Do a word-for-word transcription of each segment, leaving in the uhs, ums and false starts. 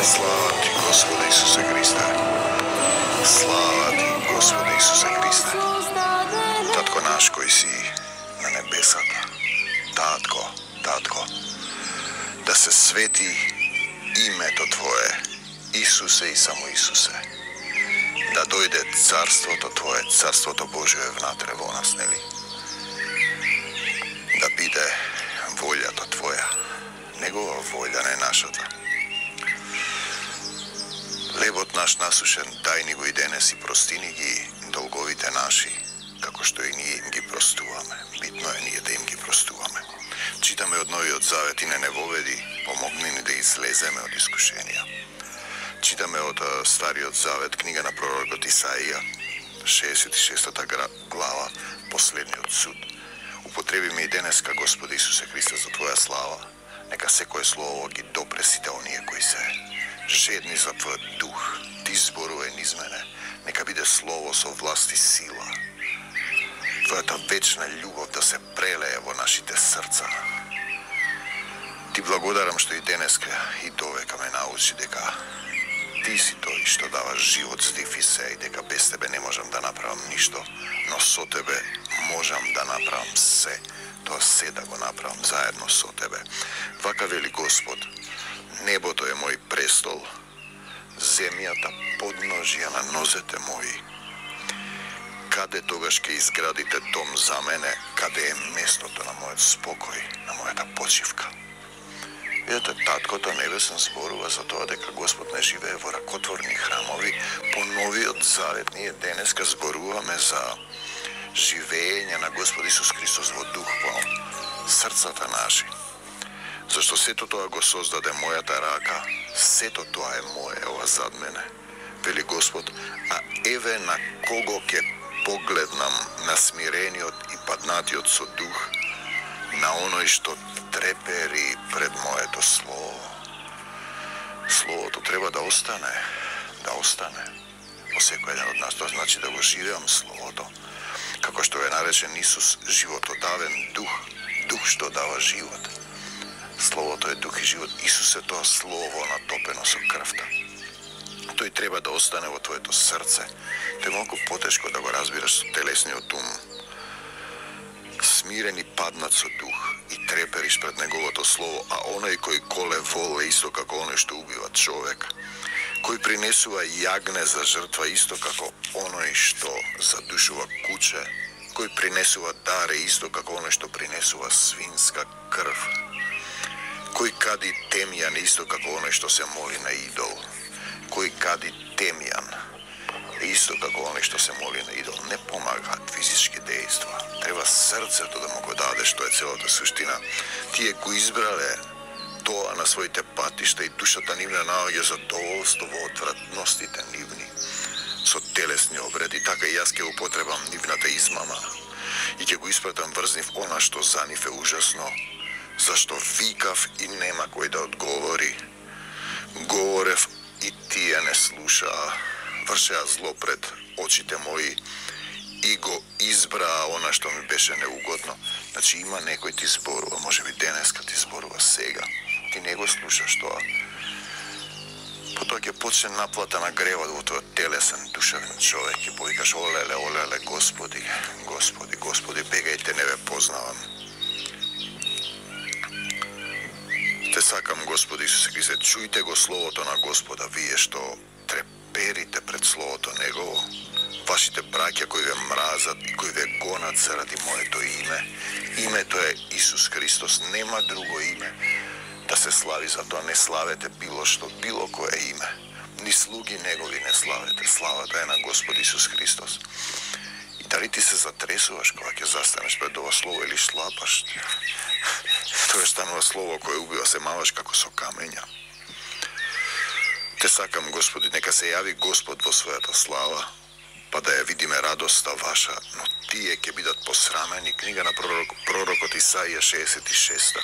Слава ти, Господи Исусе Христе. Слава ти, Господи Исусе Христе. Татко наш кој си на небесата. Татко, татко, да се свети името Твое, Исусе и само Исусе. Да дојде царството Твое, царството Божие внатре во нас, нели? Да биде волјата Твоја, негова волја, не нашата. Лебот наш насушен, дај ни го и денес и простини ги долговите наши, како што и ние им ги простуваме. Битно е ние да им ги простуваме. Читаме од Новиот Завет и не не воведи, помогни ни да излеземе од искушенија. Читаме од Стариот Завет, книга на пророкот Исаија, шеесет и шеста глава, последниот суд. Употреби ме и денеска, Господи Исусе Христе, за Твоја слава. Нека секое слово ги допре сите оние кои се жедни за Твојот дух. Ти зборувај низ мене. Нека биде слово со власт и сила. Твојата вечна љубов да се прелее во нашите срца. Ти благодарам што и денеска и довека ме научи дека Ти си тој што дава живот, здив и се, и дека без Тебе не можам да направам ништо, но со Тебе можам да направам се. Тоа се да го направам заедно со Тебе. Вака вели Господ, небото е мој престол, земјата подножја на нозете мои. Каде тогаш ќе изградите дом за мене, каде е местото на мојот спокој, на мојата почивка? Видете, Таткото Небесен зборува за тоа дека Господ не живее во ракотворни храмови. По Новиот Завет ние денеска зборуваме за живење на Господ Исус Христос во дух во срцата наши. Зашто сето тоа го создаде мојата рака, сето тоа е мое, ова зад мене, вели Господ, а еве на кого ќе погледнам, на смирениот и паднатиот со дух, на оној што трепери пред моето слово. Словото треба да остане, да остане во секој еден од нас. Тоа значи да го живеам словото. Како што е наречен Исус, животодавен дух, дух што дава живот. Словото е дух и живот. Исус е тоа слово натопено со крвта. Тој треба да остане во твоето срце. Тоа е малку потешко да го разбираш со телесниот ум. Смирен и паднат со дух и трепериш пред неговото слово, а оној кој коле вол е исто како оној што убива човек, кој принесува јагне за жртва исто како оној што задушува куче, кој принесува даре исто како оној што принесува свинска крв, кој кади темјан исто како оној што се моли на идол, кој кади темјан исто како оној што се моли на идол. Не помагаат физички дејства. Треба срцето да му го даде, што е целата суштина. Тие го избрале тоа на своите патишта и душата нивна наоѓа задоволство во отвратностите нивни. Со телесни обреди, така и јас ќе употребам нивната измама и ќе го испратам врз нив она што за нив е ужасно, зашто викав и нема кој да одговори. Говорев и тие не слушаа. Вршеа зло пред очите мои и го избраа она што ми беше неугодно. Значи има некој ти зборува, може би денеска ти зборува сега. Ти не го слушаш тоа. Потоа ќе почне наплата на гревот во твојот телесен, душевен човек. Ќе повикаш олеле, олеле, Господи, Господи, Господи, бегајте, не ве познавам. Те сакам, Господи Исусе Христе, чујте го словото на Господа, вие што треперите пред словото Негово, вашите браќа кои ве мразат и кои ве гонат заради моето име. Името е Исус Христос, нема друго име да се слави, за тоа не славете било што, било кое име. Ни слуги Негови не славете, славата е на Господ Исус Христос. И дали ти се затресуваш кога ќе застанеш пред ова слово или шлапаш? Тоа станува слово кое убива, се маваш како со камења. Те сакам, Господи, нека се јави Господ во својата слава, па да ја видиме радоста ваша, но тие ќе бидат посрамени. Книга на пророк, пророкот Исаија шеесет и шеста.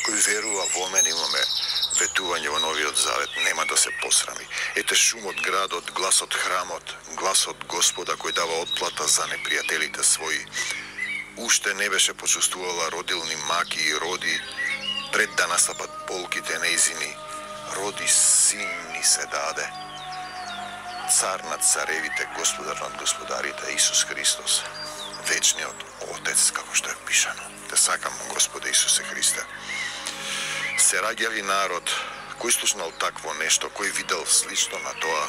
Кој верува во мене, имаме ветување во Новиот Завет, нема да се посрами. Ете шумот градот, гласот храмот, гласот Господа кој дава отплата за непријателите своји. Уште не беше почувствувала родилни маки и роди, пред да настапат полките неизини, роди син ни се даде, цар над царевите, господар над господарите, Исус Христос, вечниот Отец, како што е пишано. Те сакам, Господе Исусе Христе. Се раѓали народ кој слушнал такво нешто, кој видел слично на тоа,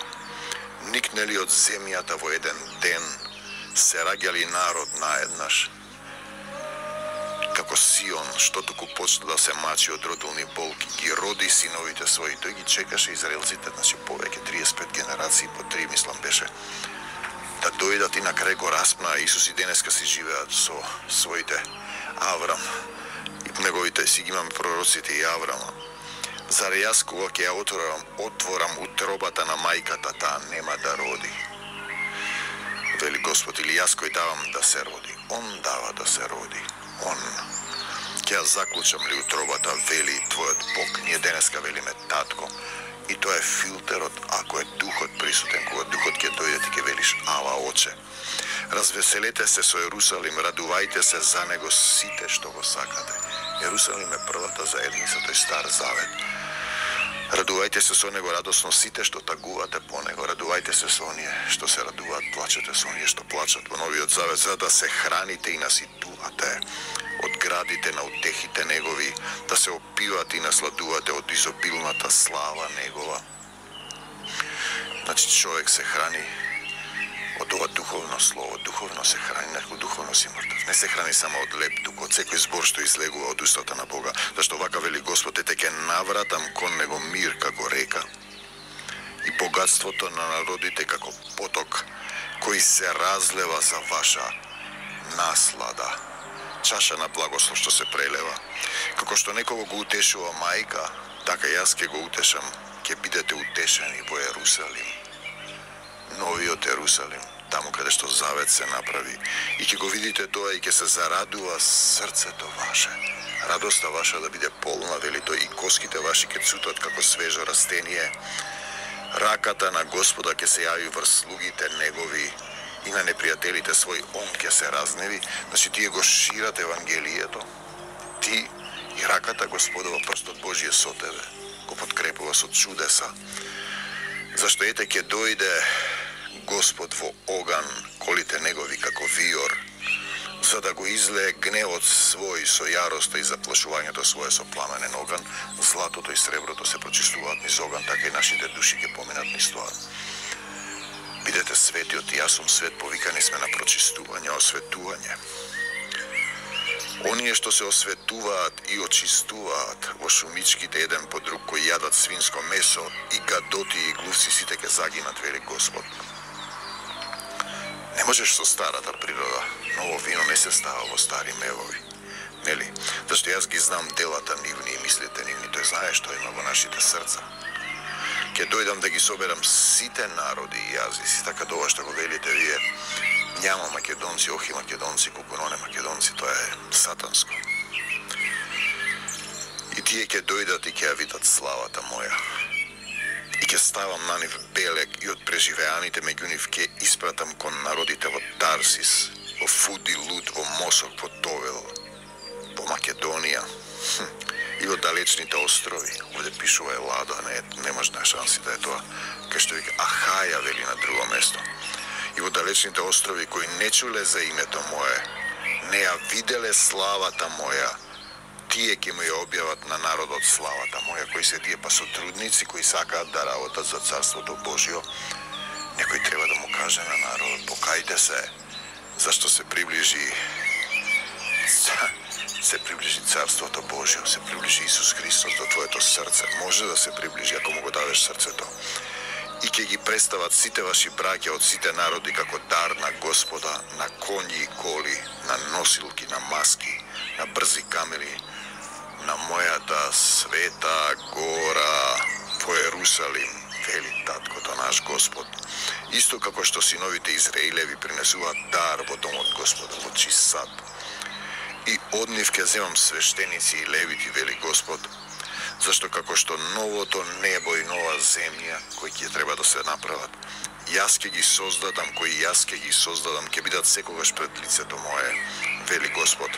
никнели од земјата во еден ден, се раѓали народ наеднаш, како Сион, што туку почна да се мачи од родилни болки, ги роди синовите своји. Тој ги чекаше израелците, значи повеќе триесет и пет генерации, по три, мислам, беше, да дојдат и на крај го распна. Исус и денеска си живеат со своите Аврам, и неговите си ги имаме пророците и Аврама. Зар јас кога ќе ја отворам, отворам утробата на мајката, таа нема да роди? Вели Господ, или јас кој давам да се роди? Он дава да се роди. Он. Ќе ја заклучам ли утробата, вели твојот Бог. Ние денеска велиме татко. И тоа е филтерот, ако е духот присутен, кога духот ќе дојде, ти ќе велиш ала оче. Развеселете се со Ерусалим, радувајте се за него сите што го сакате. Ерусалим е првата заедница, тој стар завет. Радувајте се со него радосно сите што тагувате по него. Радувајте се со оние што се радуваат, плачете со оние што плачат во новиот завет, за да се храните и наситувате од градите на утехите негови, да се опивате и насладувате од изобилната слава негова. Значи човек се храни од ова духовно слово, духовно се храни, некој духовно си мртв. Не се храни само од леп дух, од секој збор што излегува од устата на Бога, зашто вака вели Господ, ете ќе навратам кон него мир како река и богатството на народите како поток кој се разлева за ваша наслада. Чаша на благослов што се прелева. Како што некого го утешува мајка, така јас ќе го утешам, ќе бидете утешени во Ерусалим. Новиот Ерусалим, таму каде што завет се направи, и ќе го видите тоа и ќе се зарадува срцето ваше. Радоста ваша да биде полна, вели тој, и коските ваши ќе цутат како свежо растение. Раката на Господа ќе се јави врз слугите негови и на непријателите свој он ќе се разневи. Значи тие го шират Евангелието, ти и раката Господова, прстот Божие со тебе, го подкрепува со чудеса. Зашто ете ќе дојде Господ во оган, колите негови како виор, за да го излее гневот свој со јароста и заплашувањето свое со пламенен оган. Златото и среброто се прочистуваат низ оган, така и нашите души ќе поминат низ тоа. Бидете светиот и јас сум свет, повикани сме на прочистување, осветување. Оние што се осветуваат и очистуваат во шумичките еден по друг, кои јадат свинско месо, и гадоти и глувци сите ќе загинат, вели Господ. Не можеш со старата природа, ново вино не се става во стари мевови. Нели? Зашто јас ги знам делата нивни и мислите нивни, тој знае што има во нашите срца. Ќе дојдам да ги соберам сите народи и јазици, така тоа што го велите вие. Няма македонци, охи македонци, кукуноне македонци, тоа е сатанско. И тие ќе дојдат и ќе ја видат славата моја. И ќе ставам на нив белек и од преживеаните меѓу нив ќе испратам кон народите во Тарсис, во Фуди, Луд, во Мосок, во Товел, во Македонија и во далечните острови. Овде пишува Елада, не, немаш на шанси да е тоа. Кај што вика Ахаја, вели на друго место. И во далечните острови кои не чуле за името мое, не ја виделе славата моја, тие ќе му ја објават на народот славата моја, кои се тие па сотрудници кои сакаат да работат за Царството Божјо. Некој треба да му каже на народот, покајте се, зашто се приближи се приближи Царството Божјо, се приближи Исус Христос до твоето срце. Може да се приближи ако му го дадеш срцето. И ќе ги представат сите ваши браќа од сите народи како дар на Господа, на коњи и коли, на носилки, на маски, на брзи камели, на мојата света гора во Ерусалим, вели таткото наш Господ. Исто како што синовите Израилеви принесуваат дар во домот Господа во чист сад. И од нив ќе земам свештеници и левити, вели Господ, зашто како што новото небо и нова земја, кои ќе треба да се направат, јас ќе ги создадам, кои јас ќе ги создадам, ќе бидат секогаш пред лицето мое, вели Господ.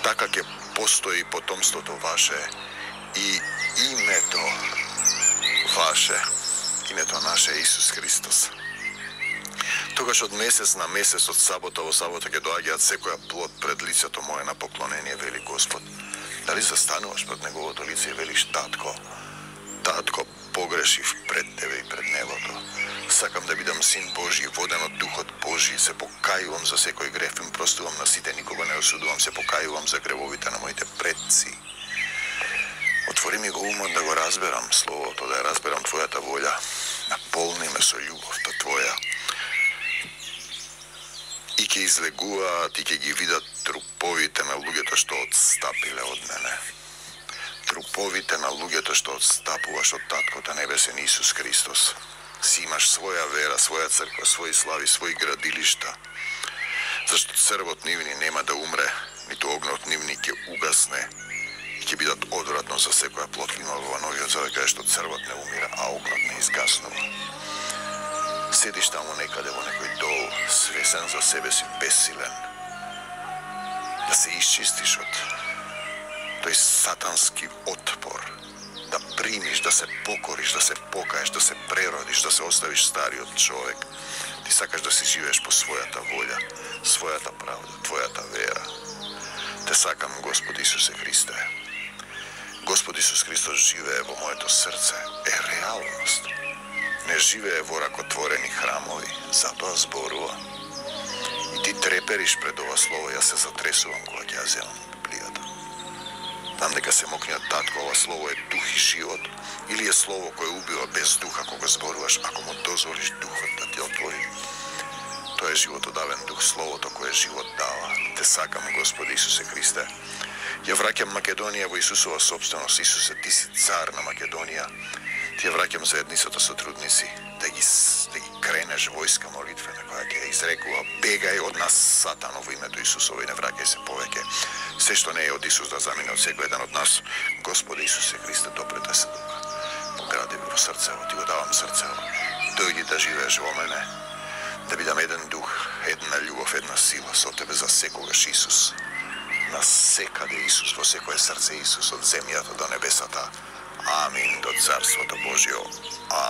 Така ќе постои потомството ваше и името Ваше, името наше е Исус Христос. Тогаш од месец на месец, од сабота во сабота ќе доаѓаат секоја плод пред лицето мое на поклонение, вели Господ. Дали застануваш пред неговото лице и велиш: татко, татко, погрешив пред тебе и пред небото. Сакам да бидам син Божи, воден од Духот Божи, се покајувам за секој греф, им простувам на сите, никога не осудувам, се покајувам за гревовите на моите предци. Отвори ми го умот да го разберам Словото, да ја разберам Твојата волја. Наполни ме со љубовта Твоја. И ќе излегуваат и ќе ги видат труповите на луѓето што отстапиле од мене. Труповите на луѓето што отстапуваш од Таткото Небесен Исус Христос. Си имаш своја вера, своја црква, своји слави, своји градилишта. Зашто црвот нивни нема да умре, ниту огнот нивни ќе угасне и ќе бидат одвратно за секоја плод. Има во Новиот Завет каде што црвот не умира, а огнот не изгаснува. Седиш таму некаде во некој дол, свесен за себе си, бесилен. Да се исчистиш од тој сатански отпор, да примиш, да се покориш, да се покаеш, да се преродиш, да се оставиш стариот човек. Ти сакаш да си живееш по својата волја, својата правда, Твојата вера. Те сакам, Господ Исусе Христе. Господ Исус Христос живее во моето срце, е реалност. Не живее во ракотворени храмови, затоа зборува. И ти трепериш пред ова слово, јас се затресувам кога ќе ја земам Библијата. Знам дека се мокниот татко, ова слово е дух и живот, или е слово кое убива без духа кога зборуваш, ако му дозволиш духот да ти отвори. Тоа е животодавен дух, словото кое живот дава. Те сакам, Господи Исусе Христе. Ја враќам Македонија во Исусова собственост. Исусе, ти си цар на Македонија. Ти ја враќам заедницата со трудници, да ги, да ги кренеш војска молитвена која ќе изрекува: бегај од нас, Сатано, во името Исусово, и не враќај се повеќе. Се што не е од Исус да замине од секој еден од нас. Господи Исусе Христе, допрете се духа. Погради ми во срцево, ти го давам срцево. Дојди да живееш во мене, да бидам еден дух, една љубов, една сила со тебе за секогаш, Исус. На секаде Исус, во секое срце Исус, од земјата до небесата. Амин, до Царството Божјо. Амин.